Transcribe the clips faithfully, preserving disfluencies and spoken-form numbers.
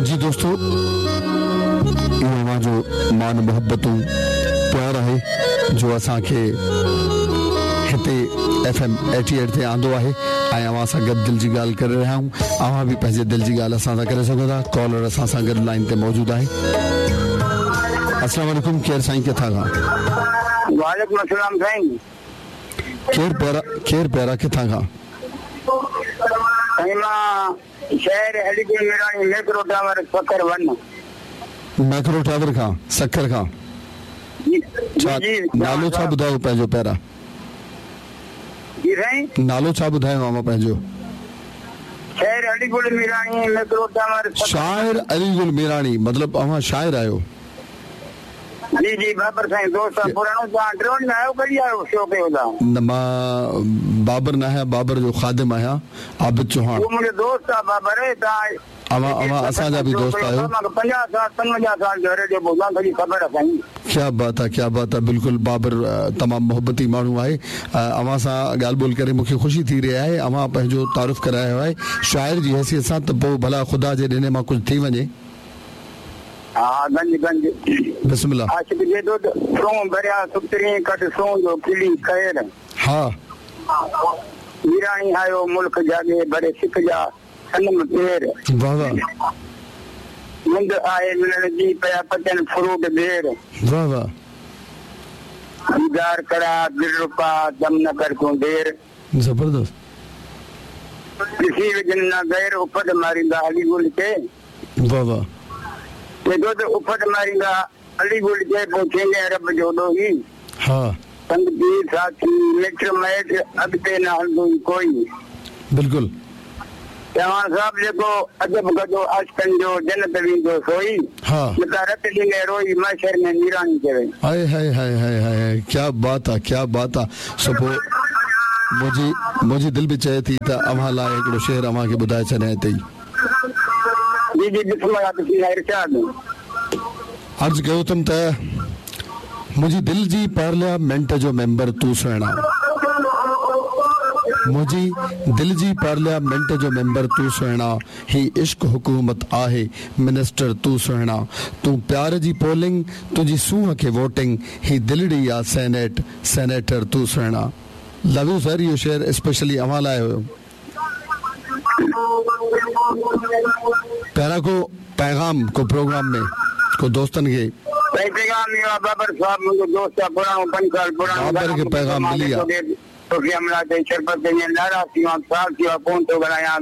जी दोस्तों, इहो अव्हांजो मान मोहब्बतूं प्यार आहे जो असांखे हिते एफ एम एटी एट ते आंदो आहे ऐं अव्हां सां गॾु दिलि जी ॻाल्हि करे रहिया आहियूं। अव्हां बि पंहिंजे दिलि जी ॻाल्हि असां सां करे सघो था। कॉलर असां सां गॾु लाइन ते मौजूदु आहे। अस्सलाम वालेकुम, केरु साईं किथां खां? वालेकुम अस्सलाम साईं। केरु प्यारा, केरु प्यारा किथां खां? साईं मां शहर Aligarh Mirani macro tower Sukkur one. Macro tower खां सक्खर खां? छा नालो छा ॿुधायो पंहिंजो प्यारा? जी साईं, नालो छा ॿुधायो अव्हां पंहिंजो? शहर अलीगुल मीरानी मैक्रो टावर। शायर अलीगुल मीरानी, मतलब अव्हां शायर आहियो? जी जी बाबर साईं, दोस्त आहे पुराणो। तव्हां ड्रोन में आयो कॾहिं आयो शो कयो था? न, मां बाबर न आहियां, बाबर जो ख़ादिम आहियां, आबिद चौहान। उहो मुंहिंजो दोस्त आहे बाबर। तव्हां अव्हां अव्हां असांजा बि दोस्त आहियो। पंजाह साल पंजवंजाह साल जो रेडियो ॿुधां, सॼी ख़बर आहे साईं। क्या बात आहे, क्या बात आहे। बिल्कुलु बाबर तमामु मोहब्बती माण्हू आहे। अव्हां सां ॻाल्हि ॿोल करे मूंखे ख़ुशी थी रही आहे। अव्हां पंहिंजो तारुफ़ करायो आहे शाइर जी हैसियत सां, त पोइ भला ख़ुदा जे ॾिने मां कुझु थी वञे। हा, गंज गंज बिस्मिल्लाह। आशिक जे दूध सों भरिया सुतरी कट सों जो खिली खैर। हा, मीरानी आयो मुल्क जागे भरे सिख जा सनम पेर। वाह वाह। मुंड आहे मिलण जी पिया पचन फ्रूट बेर। वाह वाह। दीदार करा दिलरुपा दम न कर तूं देर। ज़बरदस्त। ॾिसी विझन न गैर उफट मारींदा अली गुल खे। वाह वाह। चए थो उफट मारींदा अली गुल खे, पोइ थींदे रब जो ॾोही। हा, संग पीर साथी मिट मैट अॻिते न हलंदो ई कोई। बिल्कुलु। चव्हाण साहिबु जेको अजब गदो आशिकनि जो जन्नत वेंदो सोई। हा, मतां रत ॾींदे रोई महशर में मीरानी चवे। हाय हाय हाय हाय हाय, क्या बात आहे, क्या बात आहे। सो पोइ मुंहिंजी मुंहिंजी दिलि बि चए थी त अव्हां लाइ हिकिड़ो शेर अव्हांखे ॿुधाए छॾियां हिते ई। जी जी बिस्मिल्लाह, बिस्मिल्लाह इरशाद। अर्ज़ कयो अथमि त मुंहिंजी दिलि जी पार्लियामेंट जो मेंबर तूं सुहिणा, मुंहिंजी दिलि जी पार्लियामेंट जो मेंबर तूं सुहिणा, ही इश्क हुकूमत आहे मिनिस्टर तूं सुहिणा, तूं प्यार जी पोलिंग तुंहिंजी सूंहं खे वोटिंग, ही दिलड़ी आहे सेनेट सेनेटर तूं सुहिणा। लव you sir, इहो शेर स्पेशली अव्हां लाइ हुयो। प्यारा को पैगाम को प्रोग्राम में को दोस्तनि खे पैगाम इहो आहे बाबर साहिबु मुंहिंजो दोस्त आहे पुराणो, पंज साल पुराणो। बाबर खे पैगाम मिली आहे। तोखे अमला ते शरबत नाराज़ थी वियो आहियां, साल थी वियो कोन थो ॻाल्हायां,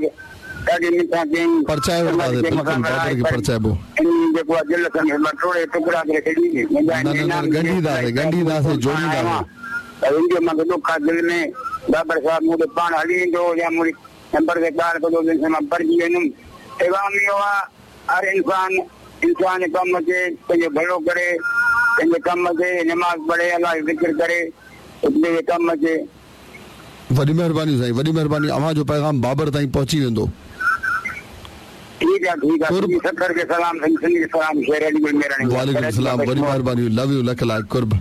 ॾाढी मिठा कयईं। परचाए वठंदासीं, बिल्कुलु बाबर खे परचाइबो। जेको आहे दिल सां मां टोड़े टुकड़ा करे छॾी। न न न, ॻंढींदासीं ॻंढींदासीं जोड़ींदासीं। त मूंखे ॾुख आहे दिलि में बाबर साहिबु, मूं ते पाण हली ईंदो या मुंहिंजी नंबर ते ॻाल्हि कंदो मां भरिजी वेंदुमि। पैगाम इहो आहे हर इंसान इंसान कम अचे पंहिंजो भलो करे, पंहिंजे कम अचे नमाज़ पढ़े, अलाह जो ज़िक्र करे, पंहिंजे कम अचे। वॾी महिरबानी साईं, वॾी महिरबानी। अव्हां जो पैगाम बाबर ताईं पहुची वेंदो। ठीकु आहे ठीकु आहे। सक्खर खे सलाम, सिंध खे सलाम, शेर अली गुल मेरानी। वालेकुम सलाम, वॾी महिरबानी। लव you, luck लाइक, कुर्ब।